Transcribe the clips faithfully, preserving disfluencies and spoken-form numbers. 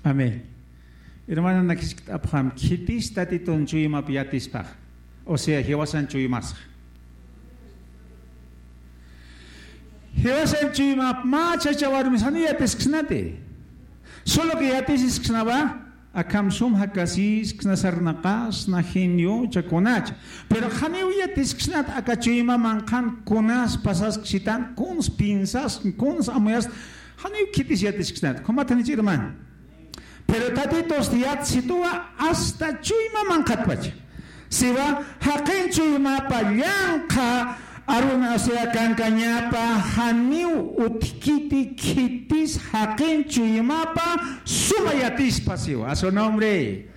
Amén. Hermana, nakiskta apxam, khitis Tatitun chuymap yatispax. O sea, jiwasan chuymasxa. Jiwasan chuymap mä chacha warmis jani yatisksnati. Solo que yatisisksnawa, akham sum jakasisksna, sarnaqasna, genio, chakunacha. Pero janiw yatisksnat aka chuyma manqhan kunas pasasksitan, kuns piensas, kuns amuyas, janiw khitis yatisksnat. Jumat janichi, hermano. Pero Tatitus yatsituwa hasta chuyma manqhatpacha. Siwa, jaqin chuymapa llanqha aruna, o sea, kankañapa, janiw utjkiti khitis jaqin chuymapa suma yatispa siwa. A su nombre.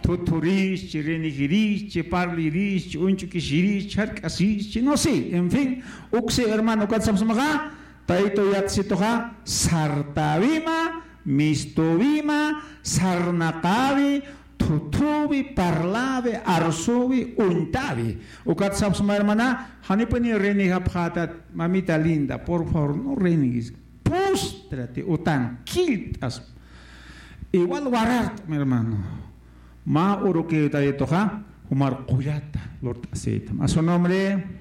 Thuthurïschi, renegirïschi, parlirïschi, uñch'ukisirïschi, jark'asïschi, no sé, en fin, uksi hermano, ukat sapsmaxa, Taytu yatsituxa sartäwima, mistüwima, sarnaqäwi, thuthüwi, parläwi, arsüwi, uñtäwi. Ukat sapsma hermana, janipuni renegapxätat, mamita linda, por favor, no renegues. Póstrate, utan killt'as. Igual warart'am, hermano. Mä urukiw Taytuxa, jumar qullata lurt'asïtam. A su nombre.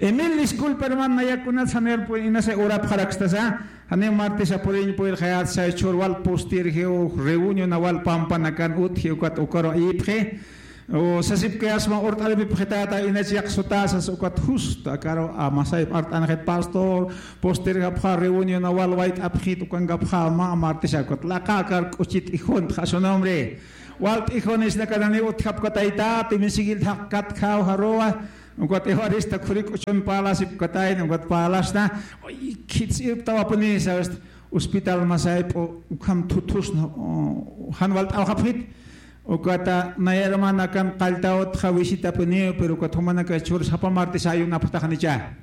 Emil, disculpa, hermano, nayax kunat saner pu-, inasa urapxarakstasa, janiw martesa puriñ puyirxayät, say chhur wal posterjiw, reunión wal pampanakan utji, ukat ukaru ayipxi. O sasipkayasma urt'aripipxitäta, inach yaqsutäsas, ukat justo akaru, a, masayp art'anxit, pastor, posterjapxä, reunión wal wayt'apxit, ukankapxä mä martesa, ukat laqä akar k'uchit ijuntxa, a su nombre. Wal t'ijunisnakanani utjapkataytäti, misigil thaqkatjaw jaruwa, ukat evarista khuri k'uchun parlasipkatayna, ukat parlasna, oy, khits irptawapuni, sabes, hospital masayp'u, ukham thuthusna, o, jan walt'awxapxit, ukata naya hermanakan qalltawtxa visitapuniw, pero ukat jumanaka chhur sapa martes ayunapxtaxanicha.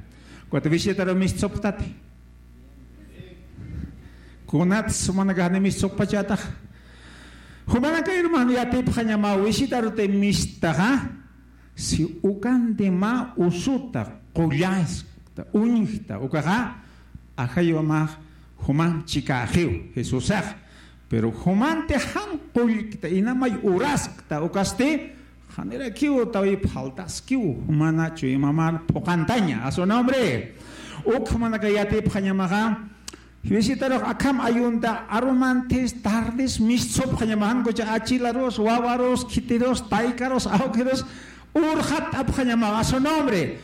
Ukat visitaru mistsupxtati. Kunat jumanaka jani mistsupxpachätax. Jumanaka hermano yatipxañamaw visitaruti mistaxa. Si ukanti mä usuta, qullaskta, uñjta, ukaxa, ajayumax jumam chikäxiw Jesusax. Pero jumanti jan qullkta, inamay uraskta, ukasti, janirakiw tawip faltaskiw, jumana chuymamar phuqantaña, a su nombre. Uk jumanaka yatipxañamaxa, visitarux akham ayunta arumantis, tardis, mistsupxañamaxa, jan kucha achilarus, wawarus, khitirus, taykarus, awkirus, urxat apxañamaxa, a su nombre.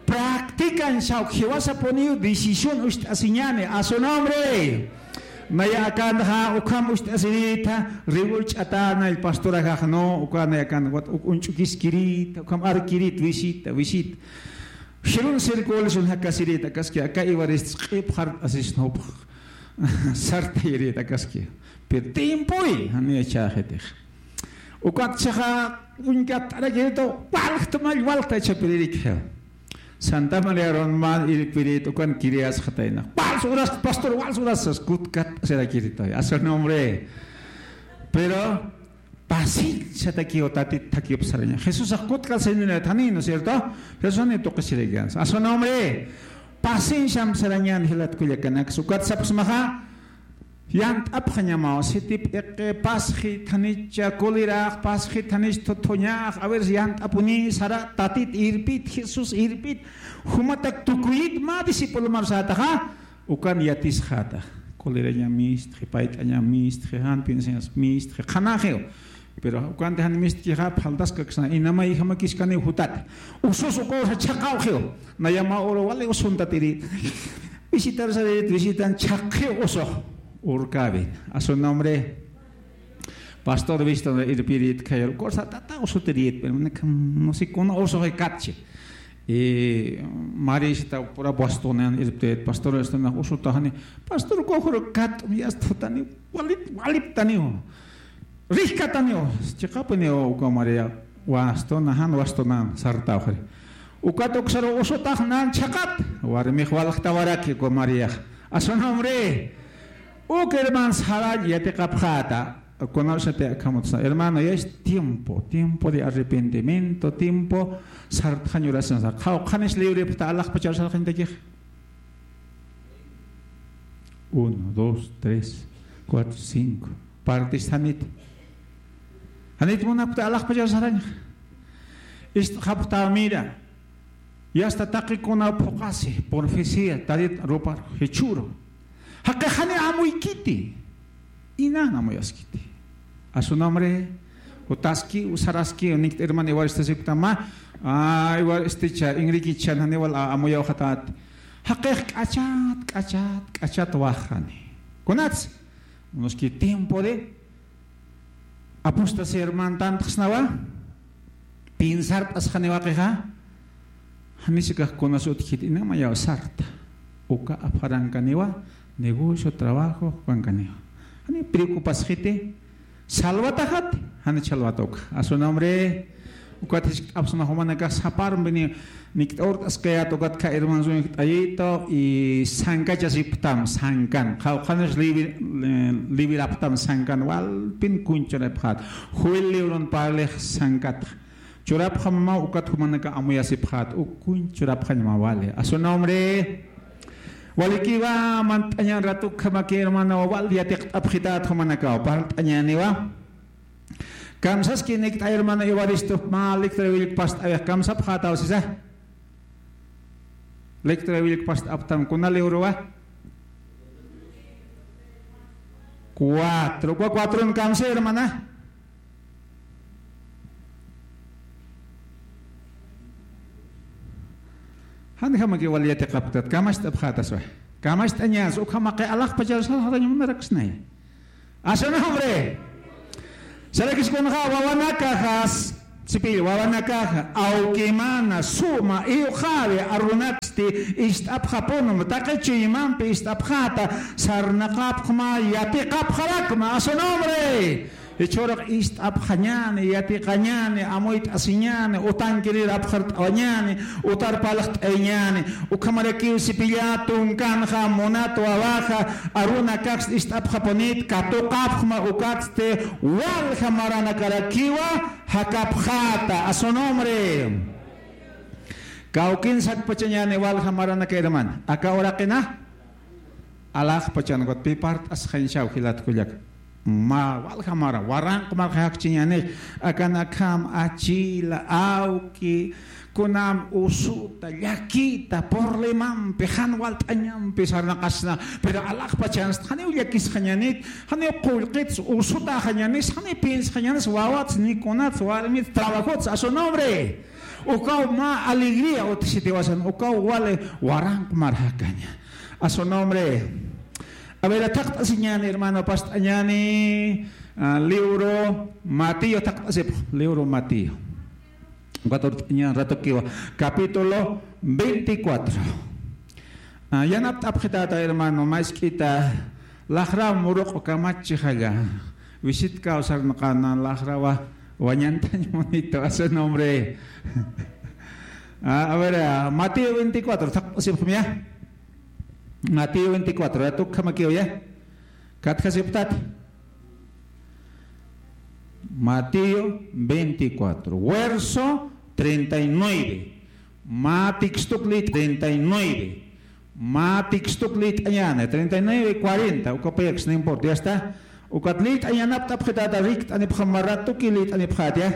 Practican, sawk jiwasapuniw decisión ucht'asiñani, a su nombre. Naya akanxa ukham ucht'asirita, riwul ch'atana, el pastor ajax no, uka naya akan, wat, uk, uñch'ukiskirita, ukham arkirit, visita, visita. Jirun circulación jakasirita, akaski, aka iwarist q'ip jart'asisnupx. Sartayirita, akaski. Pero tiempoy, jani chhäxitix. Ukat chhaxa, uñkatt'arakirita, walxtmall, walxta chapiririk. Santa María Roma irpirit, ukan kiriyasxatayna. Wals uras, pastor, wals uras, sas kutkat, sirakirita. A su nombre. Pero, Pacienciatakiw Tatit thakiw saraña. Jesusax kutkat sañanit jani, ¿no es cierto? Jesusani tuqisiraykansa. A su nombre. Pacienciam sarañan jilat kullakanaks. Ukat sapxsmaxa, yant'apxañamaw, siti p'iqi, pasxi thanicha, kulirax, pasxi thanich thuthuñax, a ver, yant'apuni, sara, Tatit irpit, Jesús irpit, jumatak tukuyit mä discipulomar sätaxa, Ukan yatisxäta, kuliraña mistxi, payt'aña mistxi, jan pinsiñas mistxi, qhanaxiw. Pero ukanti jan mistkixa, phaltaskaksna, inamay jamakiskaniw jutat. Usus uka ursa chhaqawxiw. Naya mä uru wali usuntat irit. Visitar sarit, visitan chhaqxiw usux. Urkäwin. A su nombre. Pastor Winston irpirit khayal, corsa tata usutirit, pero no sé cómo uso que catche. Y Marisita pura Bostonan irpit, pastor Winston usutajani, pastor, cojo kat, ya estutani, walit, waliptani, rihkatani, chiqapini, uka María, Bostonan, Bostonan, sartawxri. Ukat uksaru usutajnan chhaqat, warmix walxtawaraki, uka María. A su nombre. Uk hermano sarañ yatiqapxäta, kunasati akhamutsa, hermano, ya es tiempo, tiempo de arrepentimiento, tiempo sartxañ oración. Qhawqhanis librepxta alaxpachar sarxañtakix. Uno, dos, tres, cuatro, cinco. Parlt'istxanit. Janit munapkta alaxpachar sarañxa. Ist'xapxta mira. Yasta taqi kuna phuqasi, profecía, tarit rupar, jichhüru. Jaqix jani amuykiti. Inan amuyaskiti. A su nombre, utaski, usaraski, nikt hermana iwaristasiktama. A, iwaristicha, Enriquechan, jani wal a-, amuyawxatat. Jaqix k'achat, k'achat, k'achat waxani. Kunats, unos que tiempo de apostasía hermano, tantxsnawa, piensart'asxaniwa qixa, janisa kax kunas utjkit, inamayaw sarta, uka apxarankaniwa, negocio, trabajo, jukankaniwa. Jani preocupasxiti, salvataxat, jani salvata uka. A su nombre, ukat jisk'apxsna jumanakax saparm bini, nikt'awrt'askayät ukat kha hermanos uñjt'ayito y sankachasipxtam sankan. Qhawqhanis libi-, eh, libirapxtam sankan walpin kuñ churapxät. Joel libron parlix sankat. Churapxam mä ukat jumanaka amuyasipxät. Uk kuñ churapxañ mä wali. A su nombre. Walikiwa mant'añan ratukhamaki hermano wal yatiqt'apxität jumanakaw. Parlt'añäniwa. Kamsaski nikt'ay hermano Evaristo, mä lectura willk past'awix kamsapxätaw sisa. Lectura willk past'apxtam kuna librowa. Cuatro, ukwa cuatron kamsi hermana. Janjamaki wal yatiqapxtat, kamacht'apxätaswa. Kamacht'añas, ukhamaki alaxpachar sarxarañ munaraksnay. A su nombre. Sarakis kunxa wawanakaxas, sipil wawanakaxa, awkimana, suma, iwxawi, arunaksti, ist'apxapunum, taqi chuymampi ist'apxäta, sarnaqapxma, yatiqapxarakma, a su nombre. Jichhürux ist'apxañäni, yatiqañäni, amuyt'asiñäni, utankirir apxart'awañäni, utar parlt'ayañäni, ukhamarakiw sipillä tunkanxa, munat wawaxa, arunakax ist'apxapunit, katuqapxma ukatsti, walja maranakarakiwa, jakapxäta, a su nombre. Kawkin sakpachañäni walja maranaka hermana, aka uraqina, alaxpachan ukat pï parlt'asxañsaw jilat kullaka. Mä walja mara, waranq marxa jakchiñänix, akan akham, achila, awki, kunam usuta, llakita, problemampi, jan walt'añampi sarnaqasna, pero alaxpachansti, janiw llakisxañänit, janiw qullqits, usutäxañänis, janiw piensxañänis, wawats, ni kunats, warmits, trabajots, a su nombre. Ukaw mä alegría utjsitiwasan, ukaw wali waranq marxakaña. A su nombre. A ver, thaqt'asiñäni, hermano, past'añäni, ah, libro Mateo, thaqt'asipx, libro Mateo. Cuatro, ña ratokiwa, capítulo veinticuatro. Ah, yanapt'apxitäta, hermano, mask'ita, laxraw muruq kamachixalla. Visitkaw sarnaqana, laxrawa, wañantañ munito, a su nombre. Ah, a ver, ah, Mateo veinticuatro, thaqt'asipxmi ya. Mateo veinticuatro, ya tukhamakiw ya. Katjasipxtat. Mateo veinticuatro, verso treinta y nueve. Mä textok li treinta y nueve. Mä textok lït'añäni, treinta y nueve, cuarenta, uka payaks, no importa, ya está. Ukat lït'añanapt'apxitäta, rikt'anipxam mä ratuki lït'anipxäta, ya.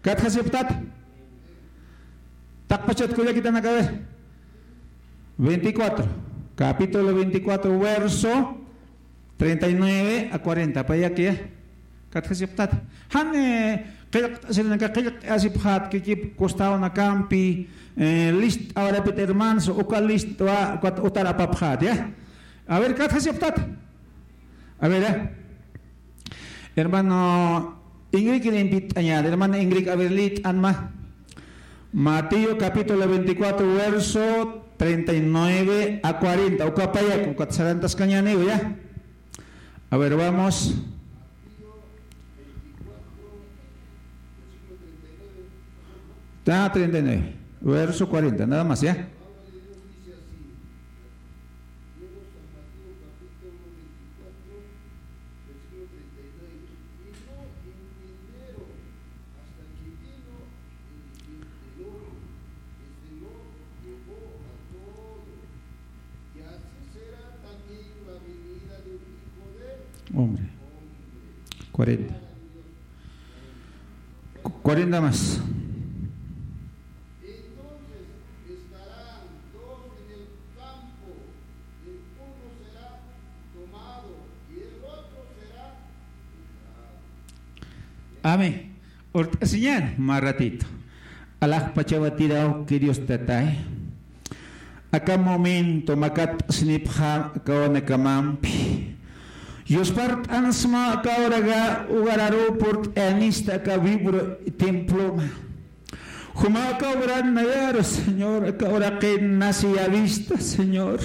Katjasipxtat. Taqpachat kullakitanaka, a ver. Veinticuatro, capítulo veinticuatro, verso treinta y nueve a cuarenta, payaki, ya. Katjasipxtat. Jan, eh, qillqt'asirinaka, qillqt'asipxät, kikip costawnakampi, eh, list'awarapit hermanos, uka list'wa, ukat utar apapxät, ya. A ver, katjasipxtat. A ver, ya. Hermano Ingrid, limpitt'añäni, hermano Ingrid, a ver, lït'anma. Mateo capítulo veinticuatro, verso treinta y nueve a cuarenta. Uka payak, ukat sarantaskañäniw, ya. A ver, vamos. Ah, treinta y nueve, verso cuarenta, nada más, ya. Hombre. Cuarenta. Cu- cuarenta más. Amén. Urt'asiñan mä ratito. Alaxpachawatiraw, queridos tatay. Aka momento makatt'asinipxam aka wanakamampi. Yuspart'ansma aka horaga hogar aeropuerto, anista aka vibro temploma. Juma aka horan nayaru, Señor, aka uraqin nasi yavista, Señor.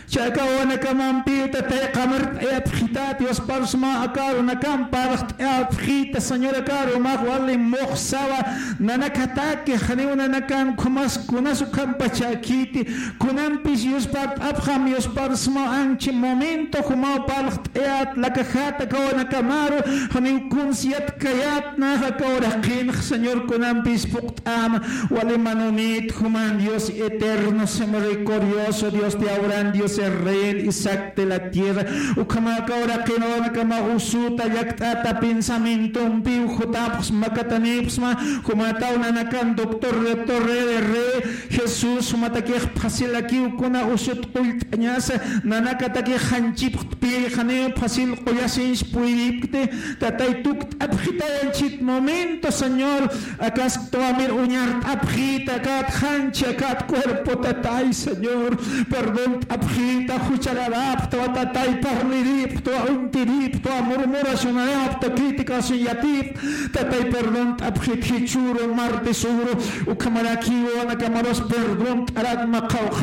Chay aka wanakamampi tatay qamart'ayapxitat, yusparsma aka runakam parlxt'ayapxita, Señor, aka arumax wali muxsawa, nanakataki janiw nanakan khumas kunas ukhampachakiti, kunampis yuspart'apxam, yusparsma anchi momento jumaw parlxt'ayat, lakajat aka wanakamaru, janiw kuns yatkayat, nax aka uraqinx, Señor, kunampis puqt'am, wali manunit, juman Dios eterno, misericordioso, Dios de Abraham, Dios de Israel, Isaac de la tierra, ukhama aka uraqin wanakama usuta, llakt'ata, pensamientompi, jutapxsma, makatanipxsma, jumataw nanakan doctor, rector, rey de rey, Jesús, jumatakix fácil akiw kuna usut qullt'añasa, nanakatakix janchipxtpi, janiw fácil qullasinch puydipkti, tatay tukt'apxitayanchit momento, Señor, akasktuwamir uñart'apxita, akat janchi, akat cuerpo, tatay, Señor, perdont'apxita, juchararapxtwa, tatay, parliripxtwa, untiripxtwa, murmuracionarapxtwa, criticación yatipxtwa, tatay, perdont'apxit, jichhüru, martesüru, ukhamaraki wanakamarus perdont'arakma, qawqha